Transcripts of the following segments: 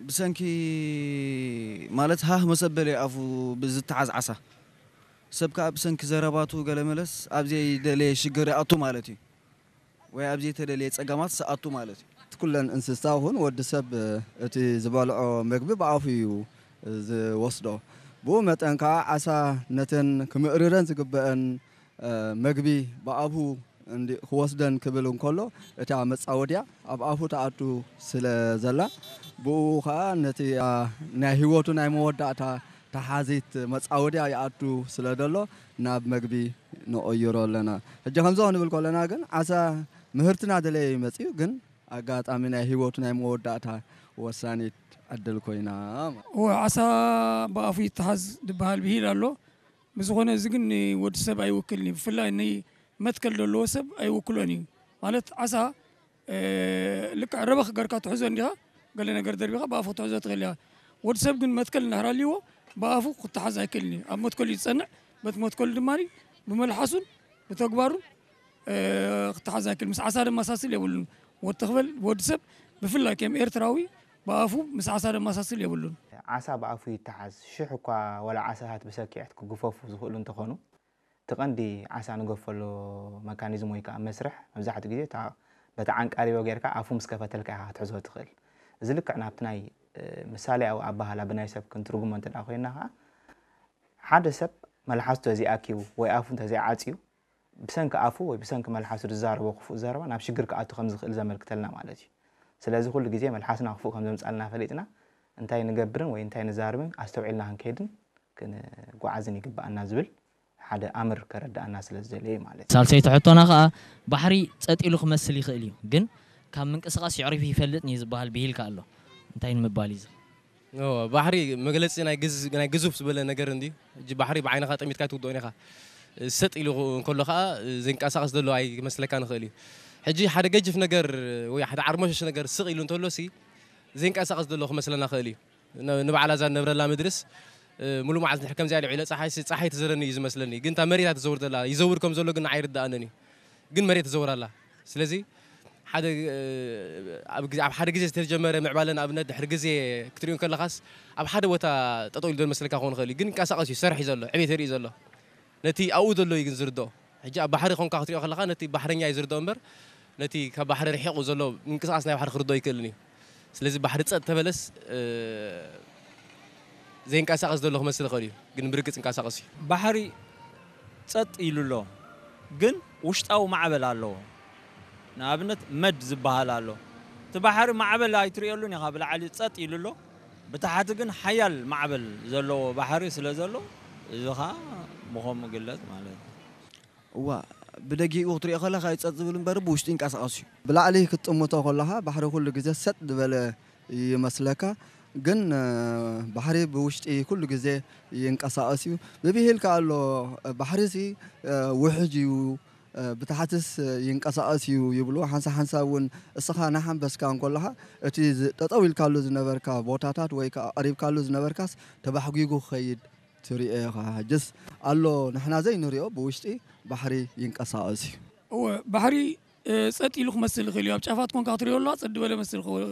ብሰንኪ ማለት ሃህ መሰበለ ኣፉ ብዝተሓዝ ዓሳ ሰብ ከዓ ብሰንኪ ዘረባቱ ገለ መለስ ኣብ ዘይደለየ ሽግር ይኣቱ ማለት እዩ። ወይ ኣብ ዘይተደለየ ጸገማት ሰኣቱ ማለት እዩ። ኩለን እንስሳ ይኹን ወዲ ሰብ እቲ ዝበልዖ መግቢ ብኣፉ እዩ ዝወስዶ። ብኡ መጠን ከዓ ዓሳ ነተን ክምእርረን ዝግበአን መግቢ ብኣፉ ክወስደን ክብል እንከሎ እታ መፃወድያ ኣብ ኣፉ ተኣቱ ስለ ዘላ ብኡ ከዓ ነቲ ናይ ህይወቱ ናይ መወዳእታ ተሓዚት መፃወድያ ይኣቱ ስለ ዘሎ ናብ መግቢ ንቕይሮ ኣለና። ሕጂ ከምዚ ክንብል ከለና ግን ዓሳ ምህርትና ደለየ ይመፅእ ግን ኣጋጣሚ ናይ ህይወቱ ናይ መወዳእታ ወሳኒት ዕድል ኮይና። እወ ዓሳ ብኣፉ ይተሓዝ ዝበሃል ብሂል ኣሎ። ብዝኾነ እዚ ግን ንወዲ ሰብ ኣይውክልን እዩ። ብፍላይ ንመትከል ዘለዎ ሰብ ኣይውክሎን እዩ። ማለት ዓሳ ልክዕ ረበኽ ገርካ ትሕዞ እንዲኻ ገለ ነገር ደርቢኻ ብኣፉ ክትሕዞ ትኽእል ኢኻ። ወዲ ሰብ ግን መትከል እንድሕር ኣልይዎ ብኣፉ ክተሓዝ ኣይክእልን እዩ። ኣብ መትከሉ እዩ ዝጸንዕ። በቲ መትከሉ ድማ ብመልሓሱን ብተግባሩን ክተሓዝ ኣይክእል። ምስ ዓሳ ደመሳስል የብሉን። ወዲ ተኽበል ወዲ ሰብ ብፍላይ ከም ኤርትራዊ ብኣፉ ምስ ዓሳ ደመሳስል የብሉን። ዓሳ ብኣፉ ይተሓዝ። ሽሕ እኳ ወላ ዓሳታት ብሰኪዐት ክግፈፉ ዝኽእሉ እንተኾኑ፣ እቲ ቀንዲ ዓሳ ንገፈሉ መካኒዝም ወይ ከዓ መስርሕ መብዛሕትኡ ግዜ እታ በቲ ዓንቃሪቦ ጌርካ ኣፉ ምስ ከፈተልካ ኢኻ ክትሕዞ ትኽእል። እዚ ልክዕ ናብቲ ናይ ምሳሌኣዊ ኣበሃህላ ብናይ ሰብ ክንትርጉሞ እንተ ኮይንና ከዓ ሓደ ሰብ መልሓሱ ተዘይኣኪቡ ወይ ኣፉ እንተዘይዓፅዩ ብሰንኪ ኣፉ ወይ ብሰንኪ መልሓሱ ዝዛረቦ ክፉእ ዘረባ ናብ ሽግር ክኣቱ ከም ዝኽእል ዘመልክተልና ማለት እዩ። ስለዚ ኩሉ ግዜ መልሓስና ክፉእ ከም ዘምፃልና ፈሊጥና እንታይ ንገብርን ወይ እንታይ ንዛርብን ኣስተውዒልና ክንከይድን ክንጓዓዝን ይግበኣና ዝብል ሓደ ኣምር ከረድኣና ስለ ዝደለየ ማለት እዩ። ሳልሰይቲ ሕቶና ከዓ ባሕሪ ፀጥ ኢሉ ክመስል ይኽእል እዩ፣ ግን ካብ ምንቅስቓስ የዕሪፉ ይፈልጥን እዩ ዝበሃል ብሂል ከ ኣሎ። እንታይ ንምባል እዩ እዚ? እወ፣ ባሕሪ መግለፂ ናይ ግዝ- ናይ ግዙፍ ዝበለ ነገር እንድዩ። ሕጂ ባሕሪ ብዓይንኻ ጠሚትካ ኣይትውድኦን ኢኻ። ሰጥ ኢሉ እንከሎ ከዓ ዘንቀሳቐስ ዘሎ ኣይመስለካን ይኽእል እዩ። ሕጂ ሓደ ገጅፍ ነገር ወይ ሓደ ዓርሞሸሽ ነገር ስቕ ኢሉ እንተሎ ሲ ዘንቀሳቐስ ዘሎ ክመስለና ይኽእል እዩ። ንበዓል ኣዛ ንነብረላ ምድርስ ሙሉእ መዓልቲ እንድሕር ከምዚኣ ልዒለ ፀሓይ ፀሓይ ትዘረኒ እዩ ዝመስለኒ። ግን እታ መሬት እያ ትዘውር ዘላ። ይዘውር ከም ዘሎ ግን ንዓይ ኣይርድኣንን እዩ። ግን መሬት ትዘውር ኣላ። ስለዚ ሓደ ኣብ ሓደ ግዜ ዝተጀመረ ምዕባለ ንኣብነት ድሕሪ ግዜ ክትሪኦ ከለኻስ ኣብ ሓደ ቦታ ጠጠው ኢሉ ዘሎ መስለካ ክኸውን ይኽእል እዩ። ግን ይንቀሳቐስ እዩ፣ ይሰርሕ እዩ ዘሎ፣ ዕቤት የርኢ ዘሎ። ነቲ ኣብኡ ዘሎ እዩ ግን ዝርድኦ። ሕጂ ኣብ ባሕሪ ኮንካ ክትሪኦ ከለኻ ነቲ ባሕረኛ እዩ ዝርድኦ እምበር ነቲ ካብ ባሕሪ ርሒቑ ዘሎ ምንቅስቓስ ናይ ባሕሪ ክርድኦ ኣይክእልን እዩ። ስለዚ ባሕሪ ጸጥ ተበለስ ዘይንቀሳቐስ ዘሎ ክመስል ይኽእል እዩ፣ ግን ብርግጽ ይንቀሳቐስ እዩ። ባሕሪ ጸጥ ኢሉ ኣሎ፣ ግን ውሽጣዊ ማዕበል ኣለዎ። ንኣብነት መድ ዝበሃል ኣሎ። እቲ ባሕሪ ማዕበል ኣይትርእየሉን ኢኻ፣ ብላዕሊ ጸጥ ኢሉ ኣሎ። ብታሕቲ ግን ሓያል ማዕበል ዘለዎ ባሕሪ ስለ ዘሎ እዚ ኸኣ ብኸምኡ ይግለጽ ማለት እዩ። እዋ ብደጊኡ ክትሪኦ ከለኻ እዩ ጸጥ ዝብል እምበር ብውሽጢ ይንቀሳቐስ እዩ። ብላዕሊ ክትጥምቶ ከለኻ ባሕሪ ኩሉ ግዜ ሰጥ ዝበለ ይመስለካ፣ ግን ባሕሪ ብውሽጢ ኩሉ ግዜ ይንቀሳቐስ እዩ። ብብሂል ከኣ ኣሎ ባሕሪሲ ውሕጅ እዩ ብታሕትስ ይንቀሳቐስ እዩ ይብሉ። ሓንሳብ ሓንሳብ እውን እስኻ እናሓንበስካ እንከለኻ እቲ ጠጠው ኢልካሉ ዝነበርካ ቦታታት ወይ ከዓ ቀሪብካሉ ዝነበርካስ ተባሕጒጉ ክኸይድ ትሪኦ ኢኻ። ሕጅስ ኣሎ ንሕና ዘይንሪኦ ብውሽጢ ባሕሪ ይንቀሳቐስ እዩ። እወ ባሕሪ ጸጥ ኢሉ ክመስል ይኽእል እዩ። ኣብ ጫፋት ኮንካ ክትሪኦ ኣለዋ ጸጥ ዝበለ መስል ይኽእል።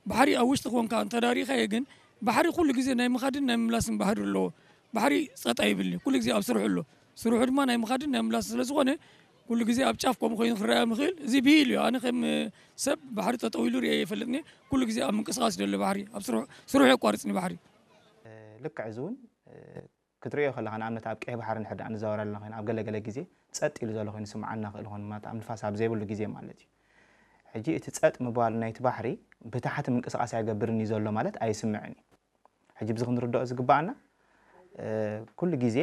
ባሕሪ ኣብ ውሽጢ ኮንካ እንተዳሪኻዮ ግን ባሕሪ ኩሉ ግዜ ናይ ምኻድን ናይ ምምላስን ባህሪ ኣለዎ። ባሕሪ ጸጥ ኣይብልን እዩ። ኩሉ ግዜ ኣብ ስርሑ ኣሎ። ስርሑ ድማ ናይ ምኻድን ናይ ምላስን ስለ ዝኾነ ኩሉ ግዜ ኣብ ጫፍ ከምኡ ኮይኑ ክረኣ ምኽእል። እዚ ብሂል እዩ። ኣነ ከም ሰብ ባሕሪ ጠጠው ኢሉ ርእየ ይፈልጥኒ። ኩሉ ግዜ ኣብ ምንቅስቃስ ደሎ ባሕሪ ኣብ ስርሑ ስርሑ የቋርጽኒ ባሕሪ። ልክዕ እዚ እውን ክትሪኦ ከለኻ ንኣብነት ኣብ ቀይሕ ባሕሪ እንድሕር ደኣ ንዛወር ኣለና ኮይና ኣብ ገለ ገለ ግዜ ጸጥ ኢሉ ዘሎ ኮይኑ ይስምዓና ይኽእል ይኾን ማለት ኣብ ንፋስ ኣብ ዘይብሉ ግዜ ማለት እዩ። ሕጂ እቲ ጸጥ ምባሉ ናይቲ ባሕሪ ብታሕቲ ምንቅስቃስ ኣይገብርን እዩ ዘሎ ማለት ኣይስምዕን እዩ። ሕጂ ብዚ ክንርድኦ ዝግባኣና ኩሉ ግዜ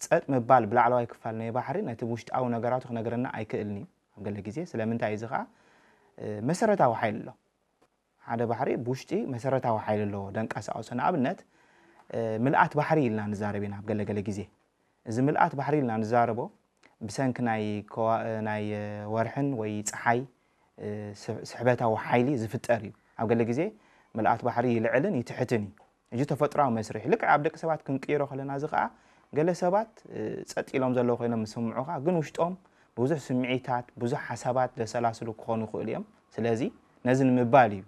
ጸጥ ምባል ብላዕለዋይ ክፋል ናይ ባሕሪ ነቲ ውሽጣዊ ነገራቱ ክነግረና ኣይክእልን እዩ ኣብ ገለ ግዜ። ስለምንታይ እዚ ኸዓ መሰረታዊ ሓይሊ ኣሎ። ሓደ ባሕሪ ብውሽጢ መሰረታዊ ሓይሊ ኣለዎ ደንቀሳቕሶ። ንኣብነት ምልኣት ባሕሪ ኢልና ንዛረብ ኢና ኣብ ገለ ገለ ግዜ። እዚ ምልኣት ባሕሪ ኢልና ንዛረቦ ብሰንኪ ናይ ከዋ- ናይ ወርሕን ወይ ጸሓይ ስሕበታዊ ሓይሊ ዝፍጠር እዩ። ኣብ ገለ ግዜ ምልኣት ባሕሪ ይልዕልን ይትሕትን እዩ። እዚ ተፈጥሮኣዊ መስርሕ ልክዕ ኣብ ደቂ ሰባት ክንቅይሮ ከለና እዚ ከዓ ገለ ሰባት ጸጥ ኢሎም ዘለዉ ኮይኖም ዝስምዑኻ ግን ውሽጦም ብዙሕ ስምዒታት ብዙሕ ሓሳባት ዘሰላስሉ ክኾኑ ይኽእሉ እዮም። ስለዚ ነዚ ንምባል እዩ